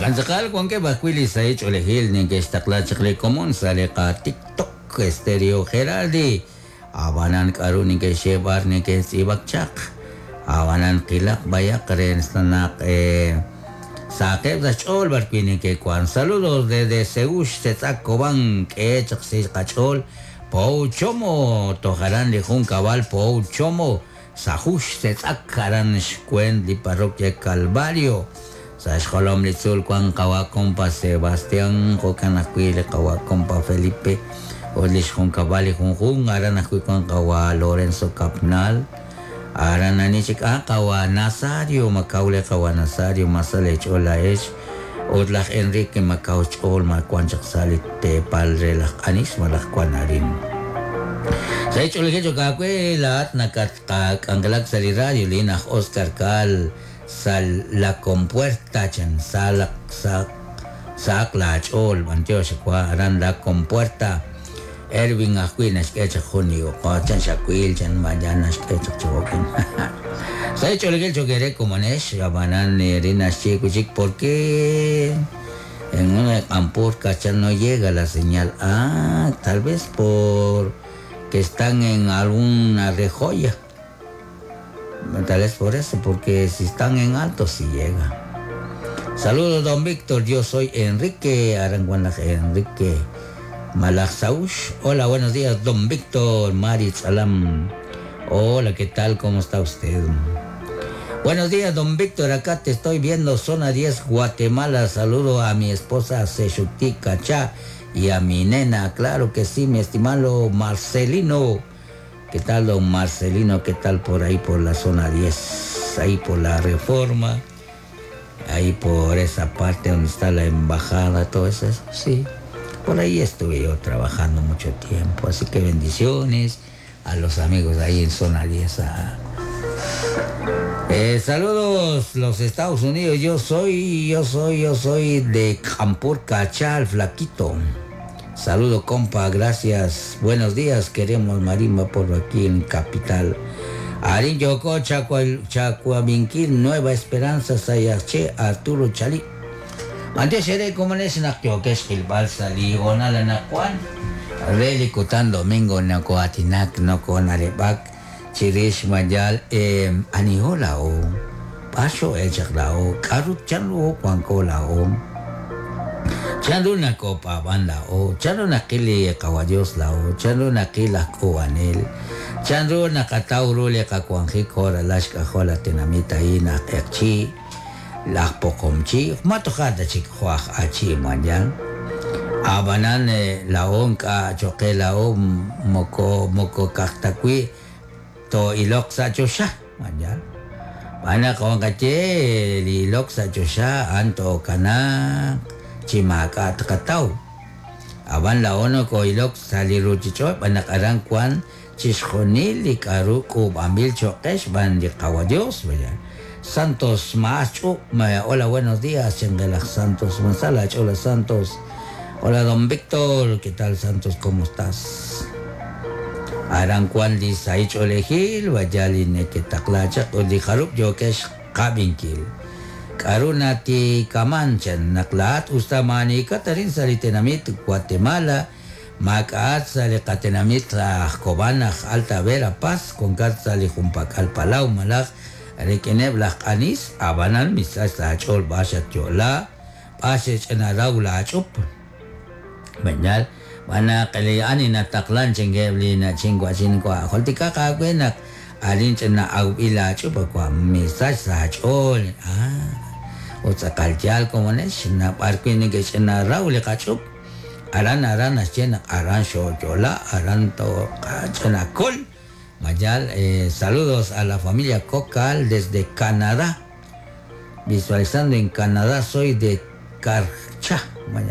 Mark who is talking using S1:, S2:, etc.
S1: Jo'kan tz'aqal wankeb' ajwi' li sahil ch'oolejil neke'xtaqla chaq li komon sa' li qaTikTok Stereo Geraldi. Ab'anan k'aru neke'xye b'ar neke'tz'iib'ak chaq. Ab'anan qilaq b'ayaq re naq sahaqeb' sa' xch'ool b'arwi' neke'wank. Saludos desde Seúl, Setz'ak, Cobán, k'e chaq sa' qach'ool Pow Chomo, toj aran li junkab'al Pow Chomo, Sajux, Setz'ak, aran xweent li parroquia Calvario. Sa' xjolom li tzuul wank qawa' kompa Sebastián, jo'kan ajwi' li qawa' kompa Felipe ut li xjunkab'al li junjunq, aran ajwi' wank qawa' Lorenzo Capnal, aran ani chik, ah qawa' Nazario, ma kaw li qawa' Nazario, ma sa leech'ool laa'ex, ut laj Enrique ma kaw xch'ool, ma wank chaq sa' li teepal re laj Q'anis malaj wank arin. Sa' xch'oolejil chok aawe laa'at nakatqak'anjelak sa' li radio, lin aj Oscar Caal sa' La Compuerta chan saalaq sa' sahaq laach'ool b'antiox wa aran La Compuerta Erwin ajwi' naxk'e chaq jun li uq'och chan xawil chan mañana naxk'e chaq chi jo'kan. Sa' xch'oolejil chok eere komonex ab'anan rin naxye wi' chik por qué en una Q'ampur Cachal no llega la señal. Ah, tal vez por que están en alguna rejoya. Tal vez por eso, porque si están en alto sí llega. Saludos, don Víctor. Yo soy Enrique Aranguanaj Enrique Malajsaush. Hola, buenos días, don Víctor Maritz Alam. Hola, ¿qué tal? ¿Cómo está usted? Buenos días, don Víctor. Acá te estoy viendo, zona 10, Guatemala. Saludo a mi esposa Seshuti Cachá y a mi nena. Claro que sí, mi estimado Marcelino. ¿Qué tal, don Marcelino? ¿Qué tal por ahí, por la zona 10? Ahí por la Reforma, ahí por esa parte donde está la embajada, todo eso. Sí, por ahí estuve yo trabajando mucho tiempo. Así que bendiciones a los amigos ahí en zona 10. Ah. Saludos, los Estados Unidos. Yo soy, yo soy, yo soy de Campur Cachal, flaquito. Saludo, compa, gracias. Buenos días, queremos marimba por aquí en Capital. Arin Yoko, Chacuaminquil, Nueva Esperanza, Sayache, Arturo Chalí. Antes seré como es naqyokex qilb'al sa' li hoonal anaqwan re li kutan domingo noko'aatinak noko'na'leb'ak chirix mayal aniho laa'o b'ar xo'el chaq laa'o k'a'ru chanru wanko laa'o chanru nakopaab'an laa'o chanru naqil li qawa Dios laa'o chanru naqil laj k'uub'anel chanru naqataw ru li qawanjik jo' ralal xk'ajol li tenamit a'in aj q'eqchi' laj poqomchi' ma toja' ta chik jo' aj achi' mañan ab'anan laa'o ink'a' cho'q qe laa'o moko moko ka'aj ta wi' too'iloq sa' choxa mañan xb'aan naq wanqaye li ilok sa' choxa a'an tookanaaq chi maak'a' tqataw ab'an laa'o nokoo'ilok sa' li ruuchich'och' xb'aan naq aran wank chixjunil li k'a'ru k'uub'anb'il cho'q qe xb'aan li Qawa Dios. Santos Maas Ch'up, hola, buenos días, chengelaj Santos, Masala, Chola Santos. Hola, don Víctor, ¿qué tal, Santos? ¿Cómo estás? Aran kwan li sahil ch'oolejil, vaya li neke'taqla chaq ut li jarub' yookex qab'inkil. K'a'ru natikaman chan naq laa'at usta maanikat arin sa' li tenamit Guatemala, maak'a'at sa' li qatenamit aj Cobán aj Alta Verapaz, wankat sa' li junpak'al palaw malaj rik'ineb' laj q'anis, ab'anan misach laach'ool b'ar xatyo'la, b'ar xech'inaraw laach'up. Beñal, xb'aan naq li ani nataqlan chinkeb' li na'chin wa'chin wa' jultikaq aawe naq arin ch'ina awb'il laach'up wa' misach saach'ool. Ah, ut tz'aqal yaal komonex naq b'ar wi' neke'ch'inaraw li qach'up, aran aran naxye naq aran xooyo'la, aran tooqach'inakol. Mayal, saludos a la familia Cocal desde Canadá. Visualizando en Canadá, soy de Carchá.